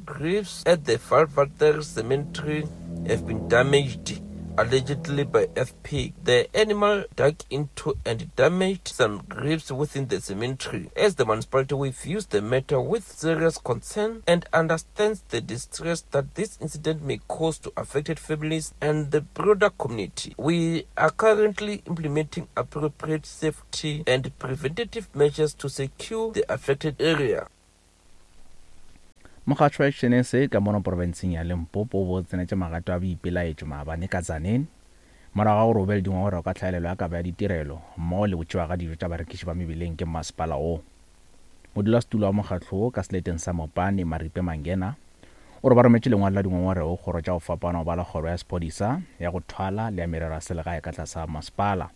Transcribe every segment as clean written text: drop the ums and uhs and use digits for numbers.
graves at the Vaalwater Cemetery have been damaged, allegedly by FP. The animal dug into and damaged some graves within the cemetery. As the municipality, we views the matter with serious concern and understands the distress that this incident may cause to affected families and the broader community. We are currently implementing appropriate safety and preventative measures to secure the affected area. Mokgatlo wa Action SA ka mono profenseng ya Limpopo o bo tsenetše magato a boipelaetšo maabane ka Tzaneen morago ga gore o be le dingongorego ka tlhaelelo ya kabo ya ditirelo mmogo le go tšewa ga dijo tša barekiši ba mebileng ke mmasepala wo. Modulasetulo wa mokgatlo wo ka seleteng sa Mopani, Maripe Mangena, o re ba rometše lengwalo la dingongorego go kgoro tša go fapana go bala kgoro ya sephodisa, ya go thwala le ya merero ya selegae ka tlase ga masepala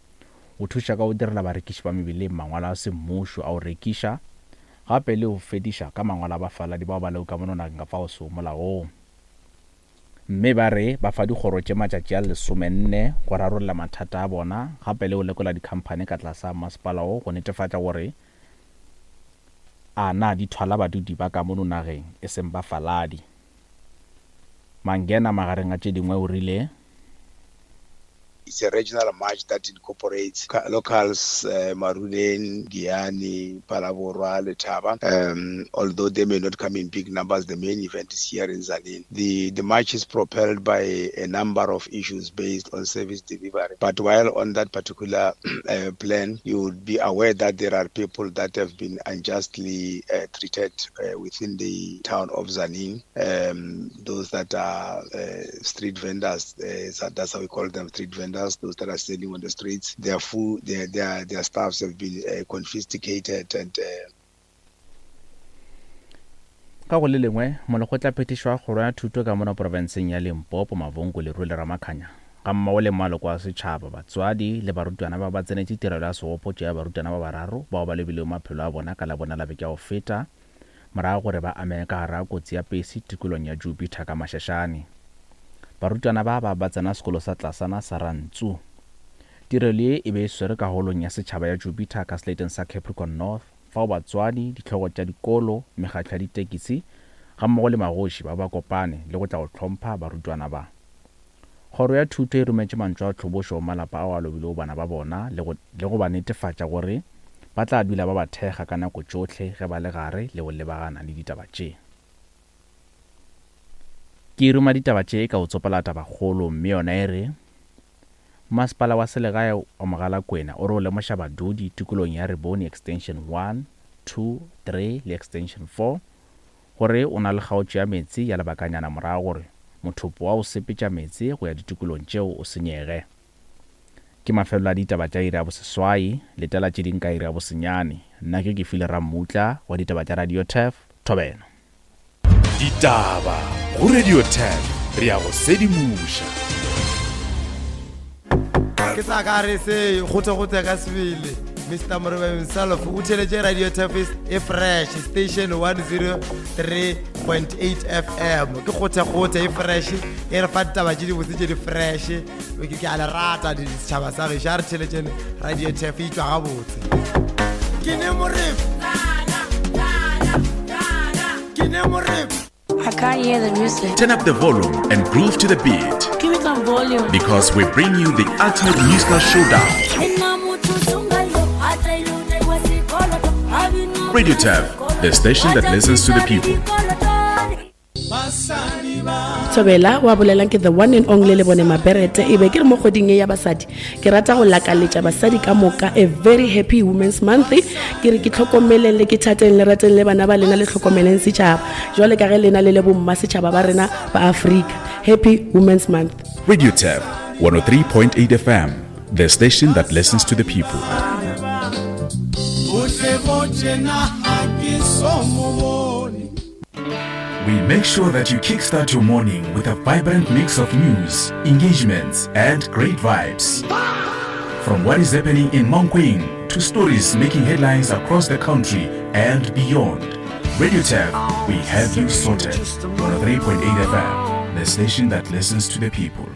go thuša ka go direla barekiši ba mebileng mangwalo a semmušo a go rekiša gape le go fediša ka mangwalo a bafaladi bao ba lego ka mono nageng ka fao sego molaong. Mme ba re ba fa dikgoro tše matšatši a lesomenne go rarolla mathata a bona gape le go lekola dikhamphani ka tlase ga masepala wo go netefatša gore a na di thwala badudi ba ka mono nageng e seng bafaladi. Mangena magareng a tše dingwe o rile. It's a regional march that incorporates locals, uh, Maruleng, Giyani, Phalaborwa, Letaba. Um, although they may not come in big numbers, the main event is here in Tzaneen. The, the march is propelled by a number of issues based on service delivery. But while on that particular uh, plan, you would be aware that there are people that have been unjustly uh, treated uh, within the town of Tzaneen. Um, those that are uh, street vendors, uh, that's how we call them, street vendors, those that are selling on the streets, their food, their, their, their stuffs have been uh, confiscated and uh, Ka go le lengwe, molekgotlaphethiši wa kgoro ya thuto ka mono profenseng ya Limpopo, Mavhungu Lerule Ramakhanya, gammogo le maloko a setšhaba, batswadi le barutwana ba ba tsenetše tirelo ya segopotšo ya barutwana ba bararo bao ba lobilego maphelo a bona ka Labone la beke ya go feta morago gore ba amege ka gare ga kotsi ya pesi tikolong ya Jupiter ka Mashashane. Barutwana ba ba ba tsena sekolo sa tlasana sa Rantsu. Tirelo ye e be e swerwe ka holong ya setšhaba ya Jupiter ka seleteng sa Capricorn North, fao batswadi, dihlogo tša dikolo, mekgatlo ya ditekisi gammogo le magoši ba ba kopane le go tla go hlompha barutwana ba. Kgoro ya Thuto e rometše mantšu a tlhobošo go malapa ao a lobilego bana ba bona le go le go ba netefatša gore ba tla dula ba ba thekga ka nako tšohle ge ba le gare le go lebagana le ditaba tše. Ke ruma ditaba tše ka go tsopola tabakgolo mme yona e re, Masepala wa selegae wa Mogalakwena o re o lemoša badudi tikolong ya Rebone Extension 1, 2, 3 le Extension 4 gore o na le kgaotšo ya meetse ya lebakanyana morago gore mothopo wa go sepetša meetse go ya ditikolong tšeo o senyege. Ke mafelelo a ditaba tša iri ya boseswai, letela tše ding ka iri ya bosenyane. Nna ke Kefile Rammutla wa ditaba tša Radio Turf, Thobela. Ditaba go Radio Turf, re a go sedimoša. Ke sa ka re se gote-gote ka sebele. Mr. Moreba himself o theletše Radio Turf e fresh station 103.8 FM. Ke gote-gote e fresh e re fa ditaba tše dibotse tše di fresh. Ke a le rata setšhaba sa gešo a re theletšeng Radio Turf e tšwa gabotse. Ke ne Moreba. Ke ne Moreba. I can't hear the music. Turn up the volume and groove to the beat. Give me some volume. Because we bring you the ultimate musical showdown. Radio Turf, the station that listens to the people. Thobela wa bolelang ke the one and only le bone maberete e be ke re mo kgweding e ya basadi ke rata go lakaletša basadi ka moka a very happy women's month ke re ke tlhokomeleng le ke thateng le rateng le bana ba lena le tlhokomeleng setšhaba jwale ka ge lena le le bomma setšhaba ba rena ba Afrika happy women's month. Radio Turf 103.8 FM, the station that listens to the people. We make sure that you kickstart your morning with a vibrant mix of news, engagements, and great vibes. From what is happening in Mankweng to stories making headlines across the country and beyond. Radio Turf, we have you sorted. 103.8 FM, the station that listens to the people.